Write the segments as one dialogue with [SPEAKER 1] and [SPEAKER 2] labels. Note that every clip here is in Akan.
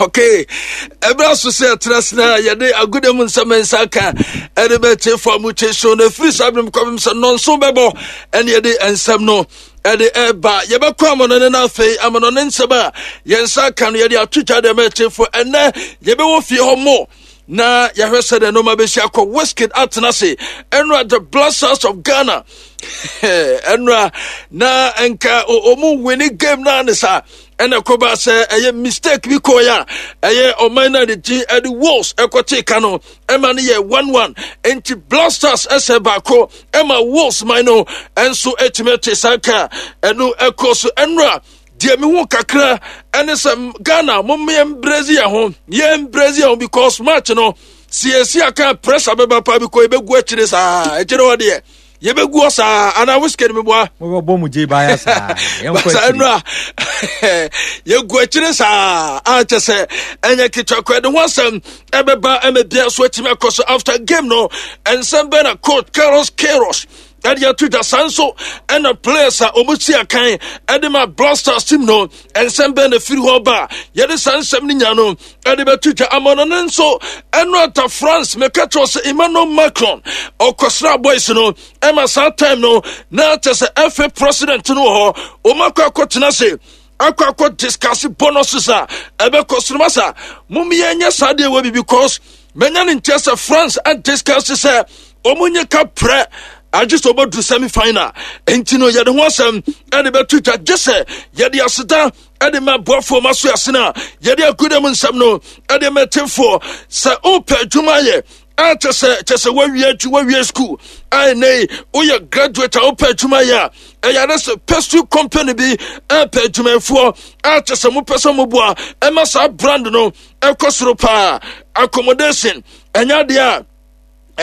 [SPEAKER 1] Okay, ɛberɛ so sɛ ɛtena sena yɛde agoda mu nsɛm nsa ka ɛde bɛte fa mu kye so na ɛfiri saa berɛ mu kɔpem sɛ nnɔnso bɛbɔ ɛne yɛde nsɛm no ɛde ɛba. Yɛbɛkɔ amanɔne no afei amanɔne nsɛm a yɛn nsa ka no yɛde ato twa deɛ mɛkyefo. Ɛnɛ yɛbɛwɔ fie hɔ mo na yɛhwɛ sɛ deɛ nneɛma bɛsi akɔ. Wizkid atena ase ɛnora the Blasters of Ghana ɛnora na nka ɔmu wini game naa ne saa ɛna ɛkɔba sɛ ɛyɛ mistake bi kɔɔ a ɛyɛ ɔman no a ne din ɛde Wolves ɛkɔtee ka no ɛma no yɛ 1-1. Nti Blasters ɛsɛ baako ɛma Wolves man no ɛnso ɛtumi ɛte saa ka ɛno ɛkɔ so ɛnora. Deɛ mehu kakra ɛne sɛ Ghana mom yɛn brɛzi yɛn ho, yɛn brɛzi yɛn ho, because match no siesie aka pressure bɛba paa bi kɔ yɛbɛgu akyire saa, akyire hɔ deɛ yɛbɛgu hɔ saa anaa Wizkid meboa
[SPEAKER 2] mobɛbɔ mu gye baaya saa.
[SPEAKER 1] Yɛnkɔ akyire nnura yɛgu akyire saa a kyɛ sɛ ɛnyɛ ketewa kɔ. Ɛde ho asɛm ɛbɛba ɛma bia so atumi akɔ so after game no. Ɛnsɛm bɛn na coach Carlos Queiroz ɛde ato dwa? Saa nso ɛna players a wɔn si akan ɛde ma Blasters team no, nsɛm bɛn na firi hɔ ba? Yɛde saa nsɛm no nya no ɛde bɛto dwa. Ama no nso ɛno ata France meka kyerɛ sɛ Emmanuel Macron ɔkɔsra boys no ɛma saa time no na kyɛ sɛ FA president no wɔ hɔ. Wɔn akɔ akɔtena se akɔ discuss bonuses a ɛbɛkɔ soro. Masa mom yɛnyɛ saa deɛ wɔ bi because manya ne nkyɛ sɛ France adiscuss sɛ wɔn nye ka prɛ agye sɛ wɔbɛduru semi final. Nti no yɛde ho asɛm ɛde bɛto dwa gye sɛ yɛde aseda ɛde ma boafoɔ ma so asene a yɛde aguda mu nsɛm no ɛde mɛtefoɔ sɛ wopɛ adwuma yɛ a kyɛ sɛ kyɛ sɛ woawie adwu woawie school a ɛnɛ yi woyɛ graduate a wopɛ adwuma yɛ a ɛyɛ ade sɛ pastry company bi ɛpɛ adwumayɛfoɔ a kyɛ sɛ mopɛ sɛ moboa ɛma saa brand no ɛkɔ soro paa. Accommodation ɛnyɛ adeɛ a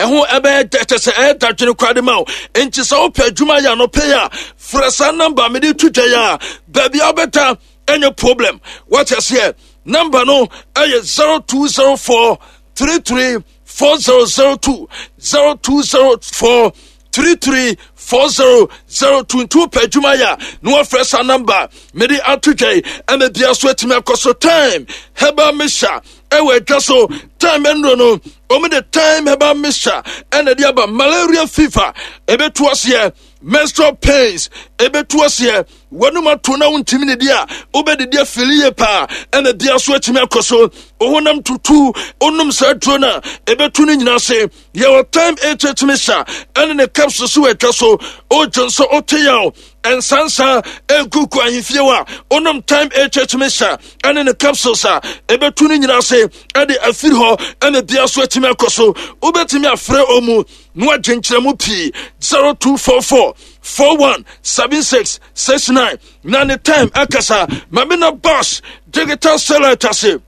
[SPEAKER 1] ɛho ɛbɛyɛ kyɛ sɛ ɛyɛ dadwene koraa de ma wo. Nti sɛ wopɛ adwuma yɛ anɔpɛ yi a frɛ saa namba mede to dwa yi a baabi a wobɛda ɛnyɛ problem. Wate aseɛ? Namba no ɛyɛ 0204 33 4002, 0204 33 4002. Nti wopɛ adwuma yɛ a na wɔfrɛ saa namba mede ato dwa yi ɛma bia so atumi akɔ so. Time herbal mixture ɛwɔ adwa so. Time nnuro no wɔn de Time herbal mixture ɛna de aba. Malaria fever ɛbɛtu aseɛ, menstrual pains ɛbɛtu aseɛ, wɔnum ato na wontumi ne di a wobɛdidi afili yie paa ɛna bia so atumi akɔ so. Wohonam tutu wonom saa duro no a ɛbɛtu no nyinaa ase. Yɛwɔ Time HH mixture ɛne ne capsule so wɔ atwa so. Wogye nso wote yaw nsansa ɛnkuku ahemfie hɔ a wonom Time HH mixture ɛne ne capsules a ɛbɛtu no nyinaa ase ɛde afiri hɔ ɛna bia so atumi akɔ so. Wobɛtumi afrɛ ɔmu na wagye nkyerɛmu pii 0244 41 76 69 na ne time akasa. Mame na bus digital satellite ase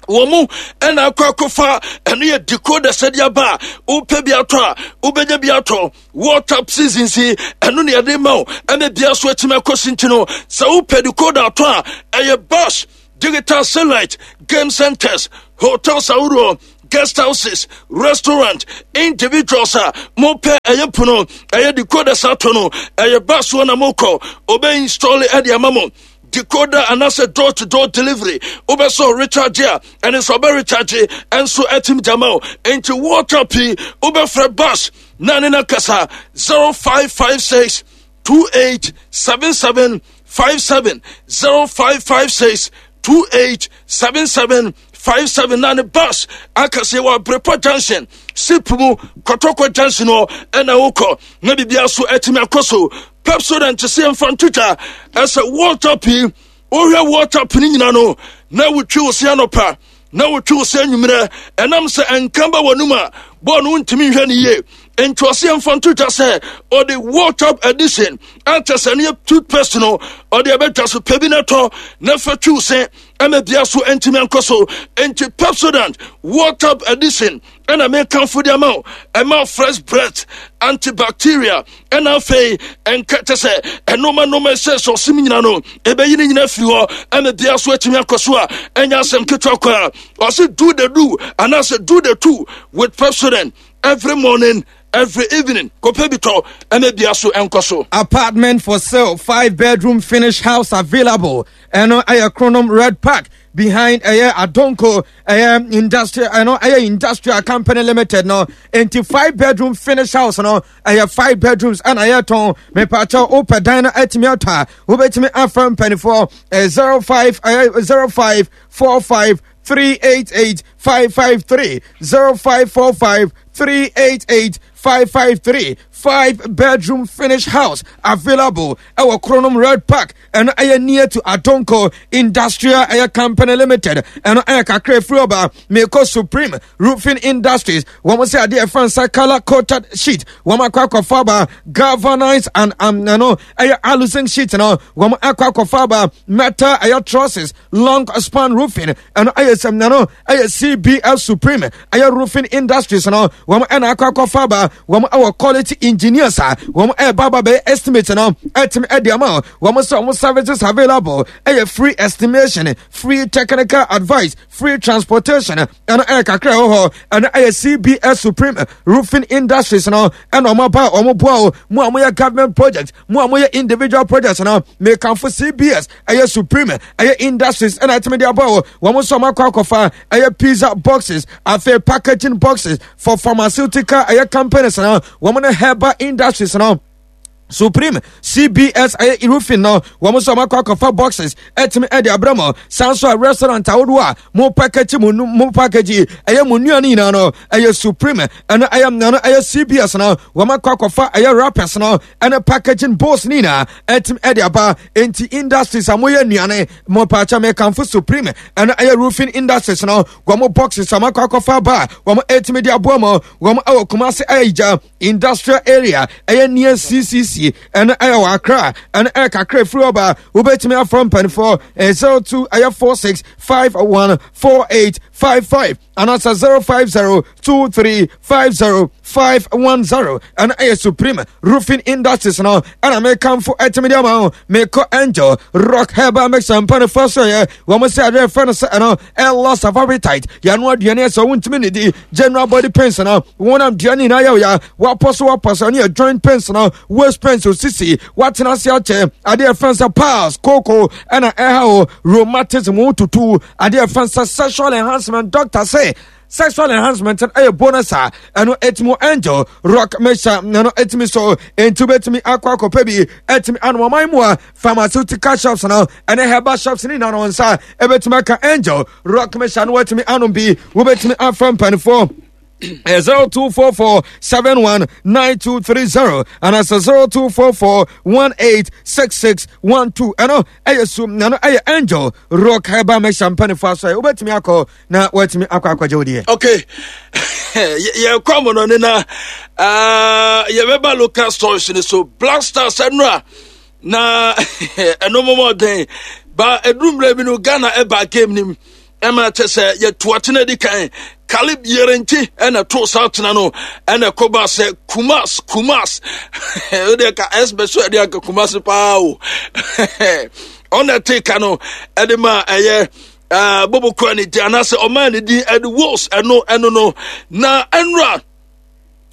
[SPEAKER 1] wɔn mu ɛna akɔ akɔfa ɛno yɛ decoder sɛdeɛ aba a wopɛ bi atɔ a wobɛnya bi atɔ. World Cup season si ɛno ne yɛde ma wo ɛna bia so atumi akɔ si. Nti no sɛ wopɛ decoder atɔ a ɛyɛ bus digital satellite, game centers, hotels ahodoɔ, guest houses, restaurant, individuals a mopɛ ɛyɛ pono ɛyɛ decoders atɔ no ɛyɛ bus hɔ na mokɔ ɔbɛ install ɛde ama mo decoder anaasɛ door to door delivery. Wobɛsɛ recharge a ɛne sɛ ɔbɛ recharge ɛnso ɛtim gyama wo. Nti World Cup yi wobɛfrɛ bus na ne na kasa 0556 28 77 57, 0556 28 77 57 na ne bus akɛseɛ wɔ Abrepɔ junction sip mu Kɔtɔkɔ junction hɔ ɛna wokɔ na biribia so atumi akɔ so. Pepsodent sɛ yɛmfa ntotwa ɛsɛ World Cup yi. Wohwɛ World Cup no nyina no na wotwi wo se anɔpa na wotwi wo se anwummerɛ ɛnam sɛ ɛnka ba w'anum a bɔɔl no wontumi nhwɛ no yie. Nti ɔse yɛmfa nto dwa sɛ ɔde World Cup edition akyɛ sɛ no yɛ toothpaste no ɔde ɛbɛdwa so pɛ bi no tɔ na fa twi wo se ɛma bia so ɛntumi ankɔ so. Nti Pepsodent World Cup edition ɛna mekamfo de ama wo. Ɛma fresh breath, antibacteria, ɛna afei ɛnka kyɛ sɛ ɛnoma noma ɛsɛ sɛ ɔsim nyina no ɛbɛyi no nyina firi hɔ ɛma bia so atumi akɔ so a ɛnyɛ asɛm ketewa koraa. Ɔse do the do anaasɛ do the two with Pepsodent every morning. Every evening, kɔpɛ bi tɔ ɛna bia so ɛnkɔ so.
[SPEAKER 2] Apartment for sale, 5 bedroom finished house available. Ɛno ɛyɛ Kronom Red Park behind ɛyɛ Adonko ɛyɛ industrial, ɛno ɛyɛ Industrial Company Limited no. Nti 5 bedroom finished house no ɛyɛ five bedrooms ɛna ɛyɛ tɔn. Mepaakyɛw, wopɛ dan no atumi atɔ a, wobɛtumi afa mpanimfoɔ 05 ɛyɛ 0545 388 553, 0545 388 553. 5 bedroom finished house available ɛwɔ Kronom Red Park. Ɛno ɛyɛ near to Adonko Industrial ɛyɛ Company Limited. Ɛno ɛyɛ kakra efiri ɔba. Meko Supreme Roofing Industries, wɔn sɛ adeɛ ɛfa nsa colour coated sheet, wɔn akɔ akɔfa aba, galvanized and ɛno ɛyɛ aluzinc sheet no, wɔn akɔ akɔfa aba, metal ɛyɛ trusses, long span roofing. Ɛno ɛyɛ sɛm, ɛno ɛyɛ CBS Supreme ɛyɛ Roofing Industries no, wɔn ɛna akɔ akɔfa aba. Wɔn ɛwɔ quality engineers a wɔn ɛɛba aba bɛyɛ estimate no ɛtumi ɛde ama wɔn sɛ wɔn services available ɛyɛ free estimation, free technical advice, free transportation. Ɛno ɛyɛ kakra ɛwɔ hɔ. Ɛno ɛyɛ CBS Supreme Roofing Industries no ɛna wɔn aba a wɔn boa o. Mo a moyɛ government project, mo a moyɛ individual projects no, mekanfo CBS ɛyɛ Supreme ɛyɛ Industries ɛna ɛtumi de aba o. Wɔn nso wɔn akɔ akɔfa ɛyɛ pizza boxes, afei packaging boxes for pharmaceutical ɛyɛ companies no, wɔn ne herbal industries no. Supreme CBS ɛyɛ roofing no, wɔn nso wɔn akɔ akɔfa boxes ɛtumi ɛde abrɛ mo. San so a restaurant ahodoɔ a mo package mo mo package ɛyɛ mo nnuane nyinaa no, ɛyɛ Supreme ɛno ɛyɛ CBS no, wɔn akɔ akɔfa ɛyɛ wrappers no ɛne packaging bowls ne nyinaa ɛtumi ɛde aba. Nti industries a moyɛ nnuane mo paakyɛ, mekanfo Supreme ɛno ɛyɛ Roofing Industries no, wɔn boxes a wɔn akɔ akɔfa aba a wɔn ɛtumi de aboa mo. Wɔn ɛwɔ Kumase Ayigya Industrial Area, ɛyɛ near CCC, ɛno ɛyɛ wɔ Accra. Ɛno ɛyɛ kakra efiri ɔba. Wobɛtumi afɔ mpanimfoɔ 02 ɛyɛ 46 51 48 55 anaasɛ 050 23 50 510. Ɛno ɛyɛ Supreme Roofing Industries no ɛna mekamfo ɛtumi de ama wo. Mekɔ Angel Rock Herbal Mixer mpanimfoɔ so yɛ wɔn sɛ adeɛ fɛ no sɛ ɛno ɛ loss of appetite, yɛano aduane ɛsɛ wontumi ne di, general body pains no, wɔnam aduane nyinaa yɛ ya, wapɔ so wapɔ so, ɛne yɛ joint pains no, waist pains, osisi, watena ase akyɛ, adeɛ fɛn sɛ piles, koko ɛna ɛha o, rheumatism wo tutu, adeɛ fɛn sɛ sexual enhancement. Doctor say sexual enhancement ɛyɛ bonus a ɛno ɛtumi Angel Rock Mixture ɛno ɛtumi so. Nti wobɛtumi akɔ akɔpɛ bi ɛtumi anom. Ɔman mu a pharmaceutical shops no ɛne herbal shops ne nyinaa no nsa ɛbɛtumi aka Angel Rock Mixture no, watumi anom bi. Wobɛtumi afa mpanimfoɔ 0244 71 9230 anaasɛ 0244 186612. Ɛno ɛyɛ so, ɛno ɛyɛ Angel Rock Herbal Mixture mpanimfoɔ asɔre. Wobɛtumi akɔ na watumi akɔ akɔgye wo deɛ.
[SPEAKER 1] Okay, yɛkɔ amono ne na yɛbɛba local stories ne so. Black Stars ɛno a na ɛno mɔmɔden ba ɛduru mmerɛ bi no, Ghana ɛba game nim ɛma kyɛ sɛ yɛto atena di kan. Caleb Yirenkyi ɛna to saa atena no ɛna ɛkɔba sɛ Kumas Kumas wode ka ɛsbɛ so ɛde anka Kumas paa o. Ɔna ɛte ka no ɛde ma ɛyɛ bobo kura ne din anaasɛ ɔmaa ne din ɛde Wolves. Ɛno no na ɛnura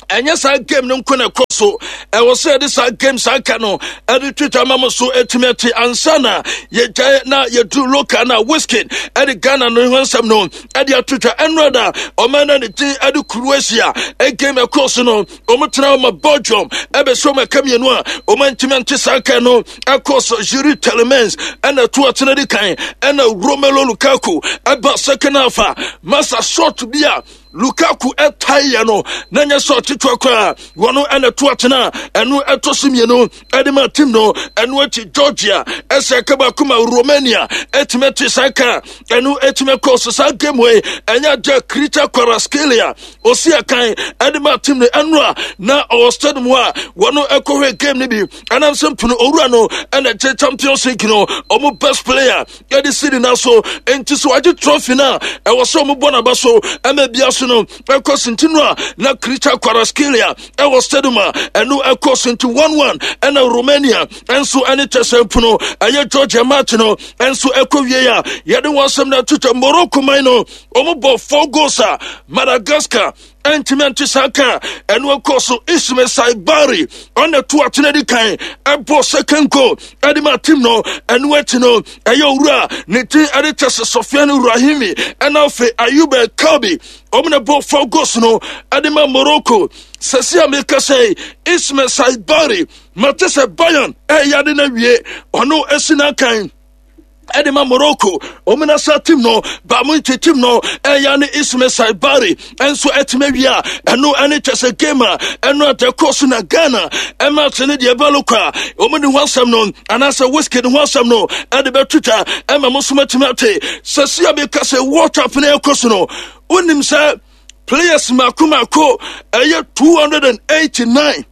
[SPEAKER 1] ɛnyɛ saa game no nko na ɛkɔ so. Ɛwɔ sɛ yɛde saa game saa ka no ɛde twitwa ma mo so ɛtumi ate ansa na yɛgyae na yɛduru local na Wizkid ɛde Ghana no ho nsɛm no ɛde atwitwa. Ɛnora da ɔman no ne din ɛde Croatia game ɛkɔ so no, ɔmo tena ɔma Belgium ɛbɛsɛ ɔmo ɛka mmienu a ɔmo ntumi ante. Saa ka no ɛkɔ so, Youri Tielemans ɛna ɛto atena di kan, ɛna Romelu Lukaku ɛba second half a masa shot bi a Lukaku ɛtaeɛ no na nyɛ sɛ ɔkyekyɛ koraa. Wɔno ɛna to atena ɛno ɛtɔ so mmienu ɛde ma team no. Ɛno akyi Georgia ɛsɛ ɛka baako ma Romania ɛtumi ɛte saa ka ɛno ɛtumi ɛkɔ so. Saa game wei ɛnyɛ agya Khvicha Kvaratskhelia osi ɛkan ɛde ma team no. Ɛno a na ɔwɔ stadium hɔ a wɔno ɛkɔhwɛ game no bi ɛnam sɛ mpono owura no ɛna ɛgye Champions League no ɔmo best player yɛde siri na so. Nti sɛ wagye trophy no a, ɛwɔ sɛ ɔmo bɔ n'aba so ɛma bia so no ɛkɔ so. Nti no a na Khvicha Kvaratskhelia ɛwɔ stadium a ɛno ɛkɔ so. Nti 1-1 ɛna Romania ɛnso ɛne kyɛsɛ mpono ɛyɛ Georgia match no ɛnso ɛkɔ wie a yɛde wɔn asɛm no atwitwa. Morocco man no ɔmo bɔ four goals a Madagascar. ɛntumi ante saa ka ɛno ɛkɔ so. Ismail Saibari ɔna to atena di kan ɛbɔ second goal ɛde ma team no. Ɛno akyi no ɛyɛ owura ne din ɛde kyɛ sɛ Sofiane Rahimi ɛna afei Ayub Kabi ɔmo na bɔ 4 goals no ɛde ma Morocco. Sɛsi a meka sɛ Ismail Saibari mate sɛ Bayern ɛyɛ ade no awie, ɔno asi n'akan ɛde ma Morocco ɔmo na sa team no baamu nti team no ɛya ne Ismail Saibari ɛnso ɛtumi awie a ɛno ɛne kyɛ sɛ game a ɛno adɛ kɔ so. Na Ghana ɛma ate ne deɛ ɛbɛlo kɔ a ɔmo ne ho asɛm no anaasɛ whisky ne ho asɛm no ɛde bɛtwitwa ɛma mo nso matumi ate. Sɛsi a meka sɛ World Cup no ɛkɔ so no, wonim sɛ players mako mako ɛyɛ 289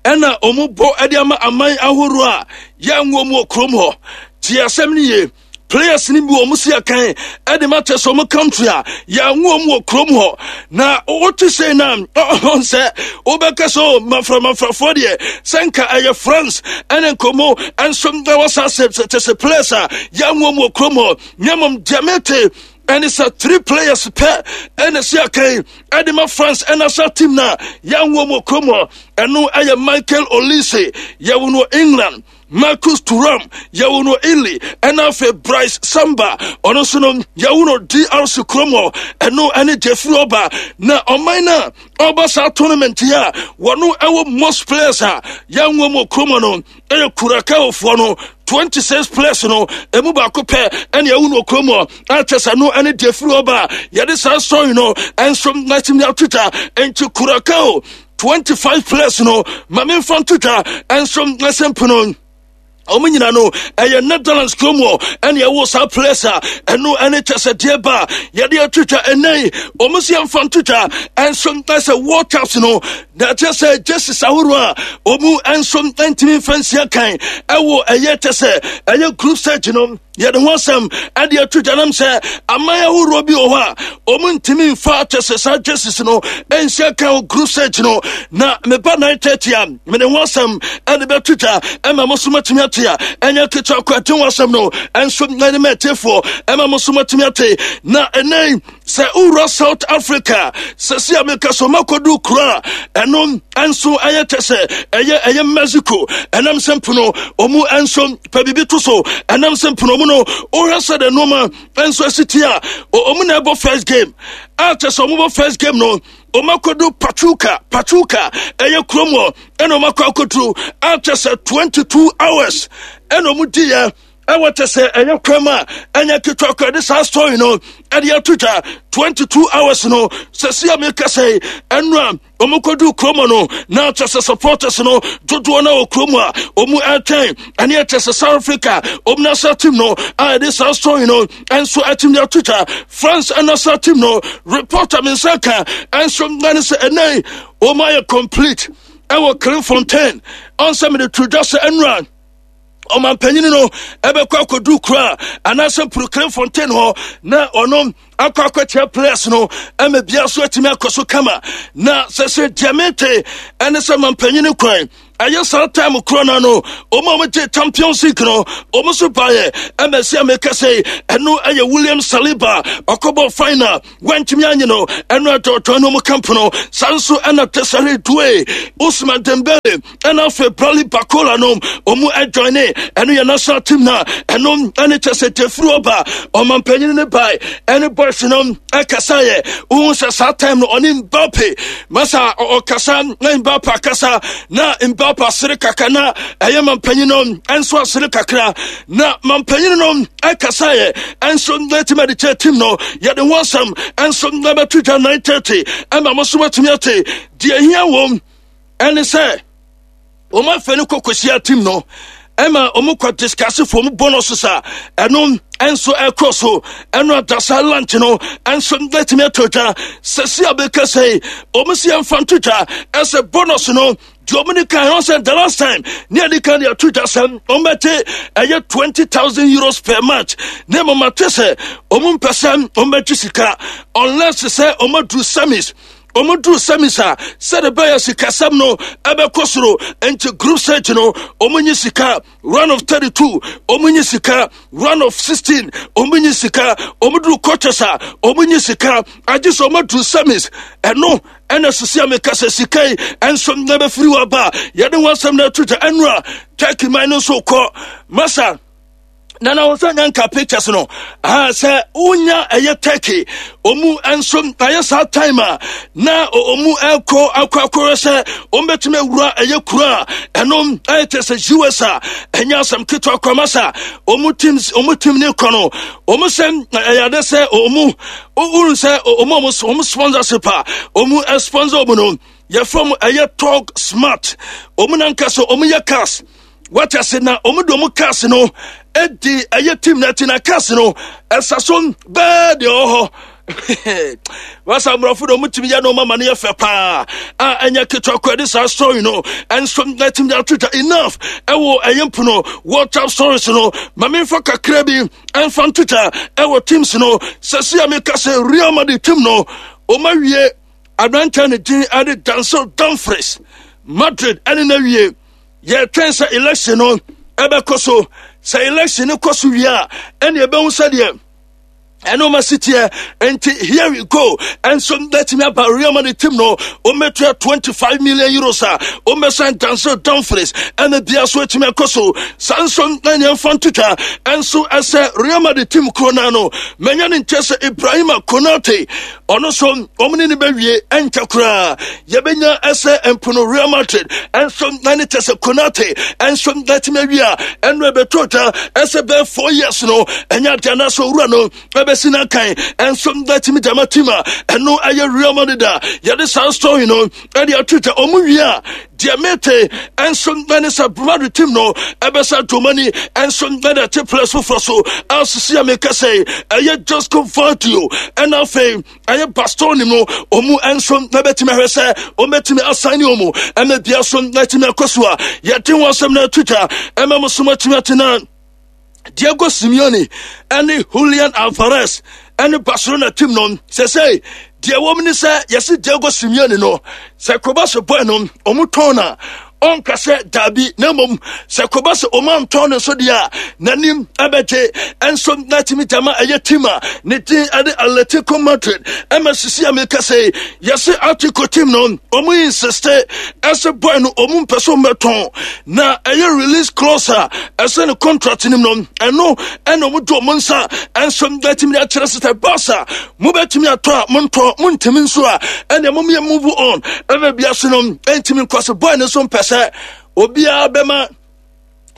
[SPEAKER 1] ɛna ɔmo bɔ ɛde ama aman ahorow a yɛnwo mu wɔ kurom hɔ. Tie asɛm no yie, players no bi wɔn si akan ɛde ma kyɛ sɛ wɔn country a yɛnwo mu wɔ kurom hɔ. Na wote sɛ na ɔhɔn sɛ wobɛka sɛ o mafra mafrafoɔ deɛ sɛ nka ɛyɛ France ɛne nkɔmmɔ ɛnso ɛwɔ saa sɛ kyɛ sɛ players a yɛnwo mu wɔ kurom hɔ. Na mmom deɛ mete ɛne sɛ 3 players pɛ ɛna si akan ɛde ma France ɛna sa team na yɛnwo mu wɔ kurom hɔ. Ɛno ɛyɛ Michael Olise, yɛwo no England, Marcus Thuram, yɛwo no Italy, ɛna afei Bryce Samba, ɔno nso no yɛwo no DRC kurom hɔ. Ɛno ɛne Jeffrey Ɔba na ɔman no a ɔba saa tournament yi a wɔno ɛwɔ most players a yɛnwo mu kurom hɔ no ɛyɛ Curacao-foɔ no, 26 players no emu baako pɛ ɛne ɛwo no kurom hɔ. Ɛkyɛ sɛ no ɛne Jeffrey Ɔba a yɛde saa story no ɛnso n'akyim de atwitwa. Nti Curacao 25 players no ma memfa ntotwa ɛnso ɛsɛ mpono ɔmo nyina no ɛyɛ Netherlands kurom hɔ ɛne ɛwɔ saa players a ɛno ɛne kyɛ sɛ deɛ ba yɛde atwitwa ɛnɛ ɔmo si ɛmfa ntotwa ɛnso ɛsɛ World Cups no na ɛkyɛ sɛ jerseys ahorow a ɔmo ɛnso ɛntumi mfa nsia kan ɛwɔ ɛyɛ kyɛ sɛ ɛyɛ group stage no, yɛde ho asɛm ɛde ato gya nam sɛ aman ahoroɔ bi wɔ hɔ a ɔmo ntumi mfa kyɛ sɛ saa jerseys no ɛnhyɛ ka wɔ group stage no. Na meba 9:30 a mede ho asɛm ɛde bɛto gya ɛma mo so matumi ate a ɛnyɛ ketewa kɔ. Ɛde ho asɛm no ɛnso ɛne ma atiefoɔ ɛma mo so matumi ate. Na ɛnɛ sɛ wowura South Africa sɛsi a meka so makɔdu kuro a ɛno ɛnso ɛyɛ kyɛ sɛ ɛyɛ Mexico, ɛnam sɛ mpono ɔmu ɛnso pɛ biribi to so, ɛnam sɛ mpono mu no wohwɛ sɛ de nnoɔma ɛnso asi ti a ɔmu na ɛbɔ first game a kyɛ sɛ ɔmobɔ first game no ɔmu akɔdu Pachuca. Pachuca ɛyɛ kurom hɔ ɛna ɔmu akɔ akɔduru a kyɛ sɛ 22 hours ɛna ɔmu diiɛ ɛwɔ kyɛ sɛ ɛyɛ kwam a ɛnyɛ ketewa kora de saa story no ɛde ato dwa. 22 hours no sɛsi a meka sɛ ɛno a ɔmo kɔdu kurom no na kyɛ sɛ supporters no dodoɔ no wɔ kurom a ɔmo ɛtwɛn ɛne ɛkyɛ sɛ South Africa ɔmo national team no a ɛde saa story no ɛnso ɛtumi de ato dwa. France national team no reporter me nsa ka ɛnso ɛne sɛ ɛnɛ ɔmo ayɛ complete ɛwɔ Clairefontaine. Ɔnsɛ mede to dwa sɛ ɛnura ɔmampanyini no ɛbɛkɔ akɔdu kuro a anaasɛ mpuru Clairefontaine hɔ na ɔno akɔ akɔkyerɛ players no ɛma bia so atumi akɔ so kama. Na sɛ deɛ mete ɛne sɛ mampanyini kwan ɛyɛ saa time korɔ no no ɔmo a wɔgye Champions League no ɔmo so baeɛ ɛma si a meka sɛ ɛno ɛyɛ William Saliba ɔkɔbɔ final wantumi anye no ɛno ɛdɔɔdɔɔ no ɔmo camp no. Saa nso ɛna Desire Doue, Ousmane Dembele ɛna afei Bradley Barcola no ɔmo ɛjoine ɛno yɛ national team na ɛno ɛne kyɛ sɛ Jeffrey ɔba ɔmampanyini ne bae ɛne boys no ɛkasaeɛ. Wohu sɛ saa time no ɔne Mbappe masa ɔkasa na Mbappe akasa na Mbappe asere kakra na ɛyɛ mampanyin no ɛnso asere kakra na mampanyin no ɛkasaeɛ ɛnso ɛtumi de kyerɛ team no. Yɛde ho asɛm ɛnso ɛbɛto dwa 9:30 ɛma mo so matumi ate. Deɛ hia wɔm ɛne sɛ wɔn afɛ no kɔ kɔhyia team no ɛma wɔn kɔ discuss fo wɔn bonus sa ɛno ɛnso ɛkɔ so ɛno adasa lunch no ɛnso ɛtumi ato dwa. Sɛsi a bɛka sɛ wɔn si ɛmfa nto dwa ɛsɛ bonus no deɛ wɔn de kan ɛwɔ sɛ the last time ne yɛde kan de ato dwa sɛ wɔn bɛte ɛyɛ €20,000 per match ne mo ma te sɛ wɔn mpɛ sɛ wɔn bɛgye sika unless sɛ wɔn aduru semis. Wɔn duru semis a sɛde bɛyɛ sikasɛm no ɛbɛkɔ soro. Nti group stage no wɔn nyi sika, round of 32 wɔn nyi sika, round of 16 wɔn nyi sika, wɔn duru quarters a wɔn nyi sika, agye sɛ wɔn aduru semis ɛno. Ɛna sisi a meka sɛ sika yi ɛnso na bɛfiri wɔ aba yɛde ho asɛm no ato gya. Ɛnora Turkey man no nso kɔ masa na na wɔsɛ nya nka pictures no ah sɛ wonya ɛyɛ Turkey ɔmu nso ayɛ saa time a na ɔmu ɛkɔ akɔ akɔrɛ sɛ ɔmbɛtumi awura ɛyɛ kuro a ɛno ɛyɛ kyɛ sɛ US a ɛnyɛ asɛm ketewa kora masa ɔmu teams ɔmu team ne kɔ no ɔmu sɛ ɛyɛ ade sɛ ɔmu wonu sɛ ɔmu ɔmu ɔmu sponsorship a ɔmu sponsor ɔmu no yɛfrɛ mu ɛyɛ Talk Smart ɔmu nankasa ɔmu yɛ cars wate ase na wɔn de wɔn cars no di ɛyɛ team na ɛte na cars no ɛsa so bɛɛ deɛ ɔwɔ hɔ wasa mmorɔfo de wɔn tumi yɛ no ma no yɛ fɛ paa a ɛnyɛ ketewa kɔ ɛde saa story no ɛnso ɛtumi de ato dwa enough ɛwɔ ɛyɛ mpono WhatsApp stories no ma memfa kakra bi ɛmfa nto dwa ɛwɔ teams no sɛsi a meka sɛ Real Madrid team no wɔn awie aberanteɛ ne din ɛde Denzel Dumfries Madrid ɛne no awie. Yɛtwɛn sɛ election no ɛbɛkɔ so. Sɛ election no kɔ so wie a, ɛne ɛbɛhu sɛdeɛ ɛno ma si teɛ. Nti here we go. Ɛnso bɛtumi aba Real Madrid team no wɔmmɛtua 25 million euros a wɔmmɛsan Denzel Dumfries ɛna bia so atumi akɔ so. Saa nso na nea mfa ntotwa ɛnso ɛsɛ Real Madrid team kuro no ano manya ne nkyɛ sɛ Ibrahima Konate ɔno nso wɔn ne no bɛwie ɛnkyɛ koraa yɛbɛnya ɛsɛ mpono Real Madrid ɛnso na ne kyɛ sɛ Konate ɛnso na ɛtumi awie a ɛno ɛbɛtɔ dwa ɛsɛ bɛɛ 4 years no ɛnyɛ adeɛ anaasɛ owura no ɛbɛsi no akan ɛnso na ɛtumi gyama team a ɛno ɛyɛ Real Madrid a yɛde saa story no ɛde ato dwa. Ɔmo wie a deɛ mete ɛnso na ne sɛ Madrid team no ɛbɛsa domani ɛnso na de ate players foforɔ so asisi a meka sɛ ɛyɛ Josko Gvardiol ɛna afei ɛyɛ Bastoni no ɔmu ɛnso na bɛtumi ahwɛ sɛ ɔmɛtumi asan ne ɔmu ɛmɛ bia so na ɛtumi akɔ so a yɛde ho asɛm no ato dwa ɛma mo so matumi atena. Diego Simeone ɛne Julian Alvarez ɛne Barcelona team no sɛsɛi deɛ wɔm ne sɛ yɛse Diego Simeone no sɛ koba so bɔe no ɔmo tɔn na ɔnka sɛ daabi, na mmom sɛ koba sɛ ɔma ntɔn no nso deɛ a n'anim ɛbɛgye ɛnso na tumi gyama ɛyɛ team a ne din ɛde Atletico Madrid. Ɛma sisi a meka sɛ yɛse Atletico team no ɔmo insist ɛsɛ bɔe no ɔmo mpɛ so mmɛtɔn na ɛyɛ release clause a ɛsɛ ne contract nim no ɛno ɛna ɔmo de ɔmo nsa ɛnso bɛtumi de akyerɛ sɛ Barca mobɛtumi atɔ a montɔ, montumi nso a ɛna momyɛ move on ɛna bia so no ɛntumi nkɔ so. Boy no nso mpɛ sɛ obiara bɛma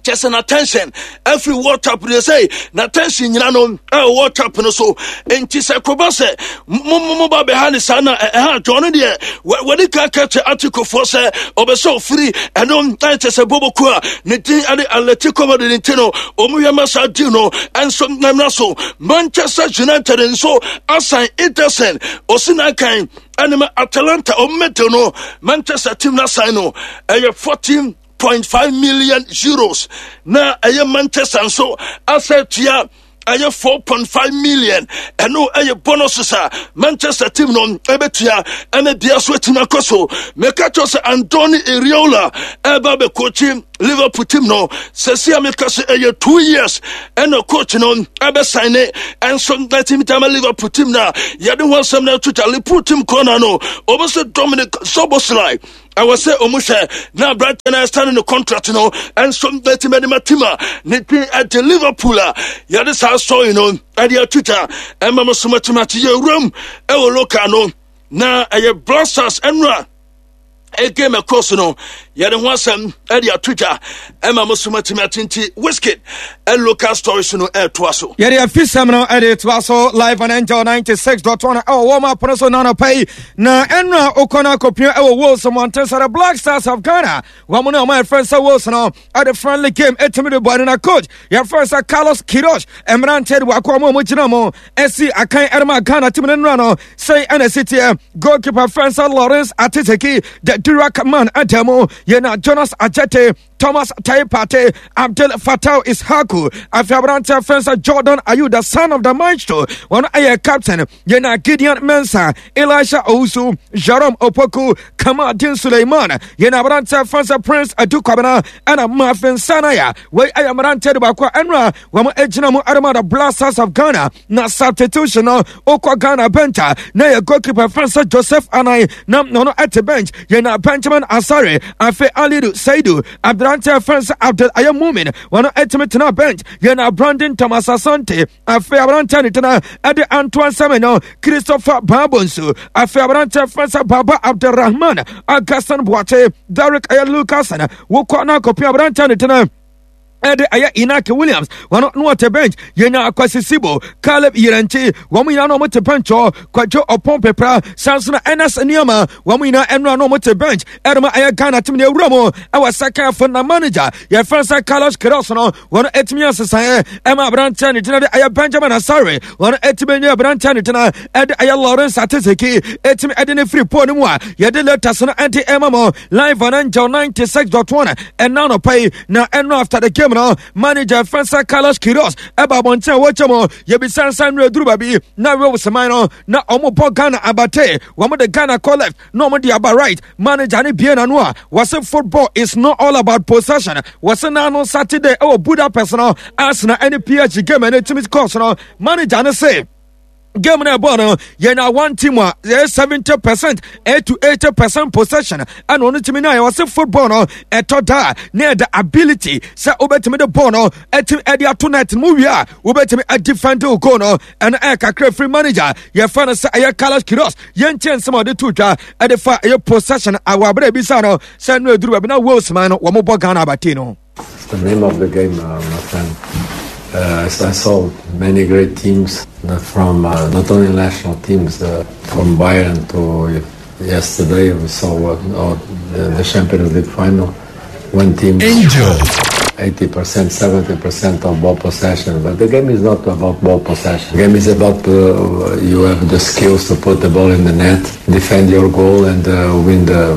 [SPEAKER 1] kyɛ sɛ n'attention afiri World Cup no sɛ n'attention nyina no ɛwɔ World Cup no so. Nti sɛ koba sɛ mo ba bɛha ne saa na ɛha adwɔn no deɛ wɔde ka ka kyɛ Atikofoɔ sɛ ɔbɛ sɛ ɔfiri ɛno ɛkyɛ sɛ bɔbɔku a ne din ɛde Atletico Madrid. Nti no ɔmo hwɛ ma saa deal no ɛnso namna so. Manchester United nso asan Ederson ɔsi n'akan ɛne ma Atalanta. Ɔmo mɛdeal no Manchester team no asan no ɛyɛ €14.5 million na ɛyɛ Manchester nso asɛ tua ɛyɛ 4.5 million. Ɛno ɛyɛ bonuses a Manchester team no ɛbɛtua ɛne bia so atumi akɔ so. Meka kyerɛ sɛ Andoni Iraola ɛba bɛkɔkyi Liverpool team no sɛsi a meka sɛ ɛyɛ 2 years ɛna coach no ɛbɛsan ne ɛnso na team tama Liverpool team no a yɛde ho asɛm no ato gya. Liverpool team kɔna no ɔbɛ sɛ Dominic Szoboszlai ɛwɔ sɛ ɔmu hwɛ na aberante no ɛsane ne contract no ɛnso bɛtumi de ma team a ne din ɛde Liverpool a yɛde saa sɔre no ɛde ato gya ɛma mo so matumi ate. Yɛwuram ɛwɔ local no na ɛyɛ Black Stars ɛnora game ɛkɔ so no yɛde ho asɛm ɛde ato dwa ɛma mo so matumi ate. Nti Wizkid local stories no ɛtoa so.
[SPEAKER 2] Yɛde afisɛm no ɛde toa so live on Angel 96.1 ɛwɔ wɔn apono so nanɔpa yi. Na ɛnora okɔ no akɔpia ɛwɔ Wales mmɔnten sɛ the Black Stars of Ghana wɔn ne ɔmo yɛfrɛ sɛ Wales no ɛde friendly game ɛtumi de bɔ ɛno. Na coach yɛfrɛ sɛ Carlos Queiroz mmeranteɛ de wakɔ ɔmo a ɔmo gyina mo ɛsi akan ɛrema Ghana team no nnora no sɛi ɛna ɛsi teɛ: goalkeeper frɛ sɛ Lawrence Atiteki, the Durak man, ada mu yɛna Jonas Ajete. Thomas Teye Partey, Abdel Fattah Issahaku, afei aberanteɛ fɛn sɛ Jordan Ayew, the son of the maestro, wɔn ɛyɛ captain, yɛna Gideon Mensah, Elisha Owusu, Jerome Opoku, Kamaldeen Suleiman, yɛna aberanteɛ fɛn sɛ Prince Adu Kwabena, ɛna Marvin Sanaya, wei ɛyɛ mmeranteɛ de baako a ɛnora wɔn gyina mu ɛrema the Blasters of Ghana. Na substitution no wokɔ Ghana bench a na yɛ goalkeeper fɛn sɛ Joseph Anan na ɔno ɛte bench, yɛna Benjamin Asare, afei Alidu Seidu, aberanteɛ fɛn sɛ Abdul Ayɛ Mumin, wɔn ɛtumi tena bench, yɛna Brandon Thomas Asante, afei aberanteɛ ne tena ɛde Antoine Semenyo, Christopher Babonsu, afei aberanteɛ fɛn sɛ Baba Abdulrahman, Augustin Boakye, Derek ɛyɛ Lucas, wokɔ na akɔpia aberanteɛ ne tena ɛde ɛyɛ Inaki Williams, wɔn no wɔte bench, yɛnya Akwasi Sibo, Caleb Yirenkyi, wɔn nyinaa na wɔte bench hɔ, Kwadwo Ɔpɔn Pepra, sanso na Ernest Nneɛma, wɔn nyinaa ɛnora na wɔte bench ɛde ma ɛyɛ Ghana team na ewura mu ɛwɔ second half na manager yɛfrɛ sɛ Carlos Queiroz no wɔn ɛtumi asesaeɛ ɛma aberanteɛ ne gyina de ɛyɛ Benjamin Asare, wɔn ɛtumi nye aberanteɛ ne gyina ɛde ɛyɛ Lawrence Atizeki ɛtumi ɛde ne firi pole no mu a yɛde latest no ɛde ɛma mo live on Angel 96.1 ɛna anɔpa yi. Na ɛno after the game no, manager fɛnsa Carlos Queiroz ɛba abɔnten a wɔkyɛ mu yɛbisa nsa nnuro aduru baabi na Wales man no na wɔn bɔ Ghana abate, wɔn de Ghana kɔ left na wɔn de aba right. Manager ne bie n'ano a wɔsɛ football is not all about possession. Wɔsɛ n'ano Saturday ɛwɔ Budapest no, Arsenal ɛne PSG game ɛne team course no, manager ne se game no ɛbɔ no yɛnya one team a yɛyɛ 70% 8 to 80% possession ɛna ɔno tumi nya. Yɛwɔ se football no ɛtɔ da na yɛda ability sɛ wobɛtumi de ball no ɛtumi ɛde ato net mu wie a wobɛtumi adefend wo goal no. Ɛno ɛyɛ kakra firi manager yɛfa no sɛ ɛyɛ Carlos Queiroz. Yɛnkyɛ nsɛm a ɔde to dwa ɛde fa ɛyɛ possession awɔ abere ebisa no sɛ no aduru baabi na Wales man no wɔn bɔ Ghana abate no.
[SPEAKER 3] It's the name of the game, my friend. I saw many great teams from not only national teams, from Bayern to yesterday we saw the Champions League final. One team,
[SPEAKER 1] Angel,
[SPEAKER 3] 80%, 70% of ball possession. But the game is not about ball possession. The game is about you have the skills to put the ball in the net, defend your goal, and win the